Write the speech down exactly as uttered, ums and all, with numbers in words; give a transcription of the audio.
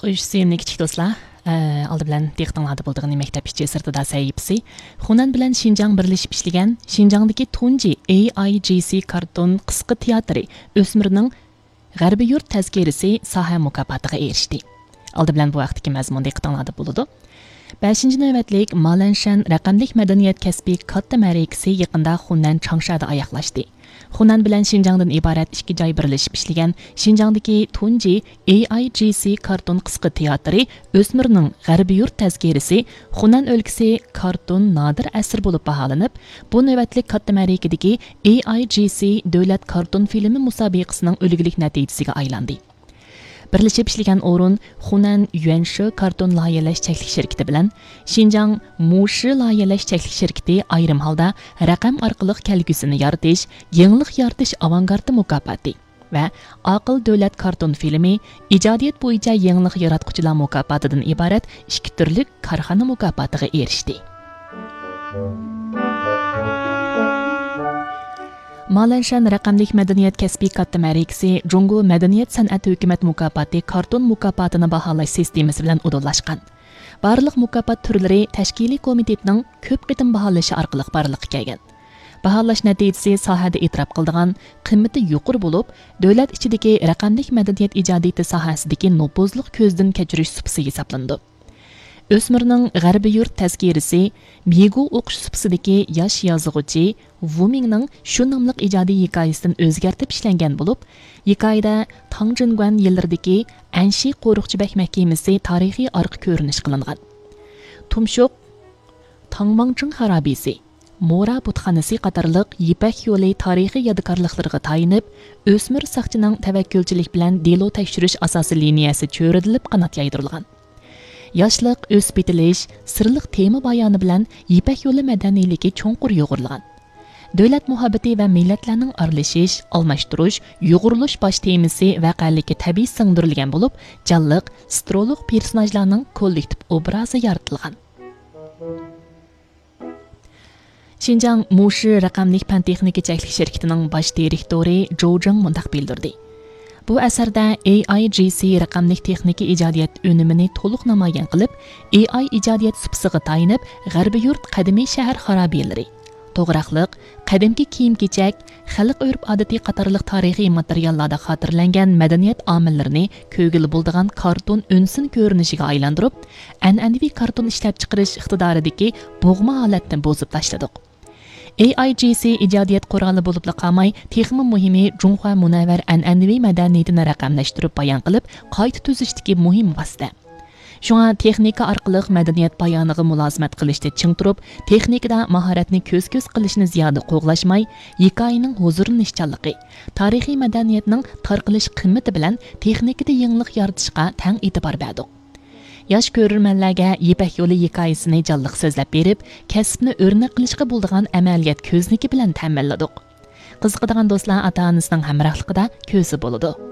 خوش، سۆيۈملۈك كىچىك دوستلار، ئە، ئالدى بىلەن دىققىتىڭلاردا بولىدىغىنى مەكتەپ ئىچى سىرتىدا سەھىپىسى. خۇنەن بىلەن شىنجاڭ بىرلىشىپ ئىشلىگەن شىنجاڭدىكى تۇنجى ئېي ئاي جى سى كارتون قىسقا تىياتىرى ئۆسمۈرنىڭ غەربىي يۇرت تەزكىرىسى ساھە مۇكاپاتىغا ئېرىشتى. ئالدى بىلەن بۇ ھەقتىكى مەزمۇن دىققىتىڭلاردا بولىدۇ. بەشىنچى نۆۋەتلىك مالەنشەن رەقەملىك مەدەنىيەت كەسپىي كاتتا مەرىكىسى يېقىندا خۇنەن چاڭشادا ئاياغلاشتى. خۇنەن بىلەن شىنجاڭدىن ئىبارەت ئىككى جاي بىرلىشىپ ئىشلىگەن شىنجاڭدىكى تۇنجى ئېي ئاي جى سى كارتون قىسقا تىياتىرى ئۆسمۈرنىڭ غەربىي يۇرت تەزكىرىسى خۇنەن ئۆلكىسى كارتون نادىر ئەسىرى بولۇپ باھالىنىپ، بۇ نۆۋەتلىك كاتتا مەرىكىدىكى ئېي ئاي جى سى دۆلەت كارتون فىلىمى مۇسابىقىسىنىڭ ئۈلگىلىك نەتىجىسىگە ئايلاندى. بىرلىشىپ ئىشلىگەن ئورۇن خۇنەن يۈەنشى كارتون لايىھەلەش چەكلىك شىركىتى بىلەن شىنجاڭ مۇشى لايىھەلەش چەكلىك شىركىتى ئايرىم ھالدا رەقەم ئارقىلىق كەلگۈسىنى يارىتىش، يېڭىلىق يارىتىش ئاۋانگارتى مۇكاپاتى ۋە ئاقىل دۆلەت كارتون فىلىمى ئىجادىيەت بويىچە يېڭىلىق ياراتقۇچىلار مۇكاپاتىدىن ئىبارەت ئىككى تۈرلۈك كارخانا مۇكاپاتىغا ئېرىشتى. مالەنشەن رەقەملىك مەدەنىيەت كەسپىي كاتتا مەرىكىسى جۇڭگو مەدەنىيەت سەنئەت ھۆكۈمەت مۇكاپاتى كارتون مۇكاپاتىنى باھالاش سىستېمىسى بىلەن ئۇدۇللاشقان. بارلىق مۇكاپات تۈرلىرى تەشكىلىي كومىتېتنىڭ كۆپ قېتىم باھالىشى ئارقىلىق بارلىققا كەلگەن. باھالاش نەتىجىسى ساھەدە ئېتىراپ قىلىدىغان قىممىتى يۇقىرى بولۇپ، دۆلەت ئىچىدىكى رەقەملىك مەدەنىيەت ئىجادىيىتى ساھەسىدىكى نوپۇزلۇق كۆزدىن كەچۈرۈش سۇپىسى ھېسابلىنىدۇ. ئۆسمۈرنىڭ غەربىي يۇرت تەزكىرىسى مىگۇ ئوقۇش سۇپىسىدىكى ياش يازغۇچى ۋۇ مىڭنىڭ شۇ ناملىق ئىجادىي ھېكايىسىدىن ئۆزگەرتىپ ئىشلەنگەن بولۇپ، ھېكايىدە تاڭ جىنگۇەن يىللىرىدىكى ئەنشى قورۇقچى بەگ مەھكىمىسى تارىخىي ئارقا كۆرۈنۈش قىلىنغان. تۇمشۇق تاڭماڭچىڭ خارابىسى، مورا بۇتخانىسى قاتارلىق يىپەك يولى تارىخىي يادىكارلىقلىرىغا تايىنىپ، ئۆسمۈر ساقچىنىڭ تەۋەككۈلچىلىك بىلەن دېلو تەكشۈرۈش ئاساسىي لىنىيەسى چۆرىدىلىپ قانات يايدۇرۇلغان. ياشلىق، ئۆسۈپ يېتىلىش، سىرلىق تېما بايانى بىلەن يىپەك يولى مەدەنىيلىكى چوڭقۇر يۇغۇرۇلغان. دۆلەت مۇھەببىتى ۋە مىللەتلەرنىڭ ئارىلىشىش، ئالماشتۇرۇش، يۇغۇرۇلۇش باش تېمىسى ۋەقەلىككە تەبىئىي سىڭدۈرۈلگەن بولۇپ، جانلىق، سترولۇق پېرسوناژلارنىڭ كوللېكتىپ ئوبرازى يارىتىلغان. شىنجاڭ مۇشى رەقەملىك پەن تېخنىكا چەكلىك شىركىتىنىڭ باش دىرېكتورى جوۋ جېڭ مۇنداق بىلدۈردى: بۇ ئەسەردە ئېي ئاي جى سى رەقەملىك تېخنىكا ئىجادىيەت ئۈنۈمىنى تولۇق نامايان قىلىپ، ئېي ئاي ئىجادىيەت سۇپىسىغا تايىنىپ، غەربىي يۇرت قەدىمىي شەھەر خارابىلىرى، توغراقلىق، قەدىمكى كىيىم-كېچەك، خەلق ئۆرپ-ئادىتى قاتارلىق تارىخىي ماتېرىياللاردا خاتىرىلەنگەن مەدەنىيەت ئامىللىرىنى كۆرگىلى بولىدىغان كارتون ئۈنسىن كۆرۈنۈشىگە ئايلاندۇرۇپ، ئەنئەنىۋى كارتون ئىشلەپچىقىرىش ئىقتىدارىدىكى بوغما ھالەتنى بۇزۇپ تاشلىدۇق. ئېي ئاي جى سى ئىجادىيەت قورالى بولۇپلا قالماي، تېخىمۇ مۇھىمى، جۇڭخۇا مۇنەۋۋەر ئەنئەنىۋى مەدەنىيىتىنى رەقەملەشتۈرۈپ بايان قىلىپ، قايتا تۈزۈشتىكى مۇھىم ۋاسىتە. شۇڭا تېخنىكا ئارقىلىق مەدەنىيەت بايانىغا مۇلازىمەت قىلىشتا چىڭ تۇرۇپ، تېخنىكىدا ماھارەتنى كۆز-كۆز قىلىشنى زىيادە قوغلاشماي، ھېكايىنىڭ ھۇزۇرلىنىشچانلىقى، تارىخىي مەدەنىيەتنىڭ تارقىلىش قىممىتى بىلەن تېخنىكىدا يېڭىلىق يارىتىشقا تەڭ ئېتىبار بەردۇق. ياش كۆرۈرمەنلەرگە يىپەك يولى ھېكايىسىنى جانلىق سۆزلەپ بېرىپ، كەسىپنى ئۆرنەك قىلىشقا بولىدىغان ئەمەلىيەت كۆزنىكى بىلەن تەمىنلىدۇق. قىزىقىدىغان دوستلار ئاتا-ئانىسىنىڭ ھەمراھلىقىدا كۆرسە بولىدۇ.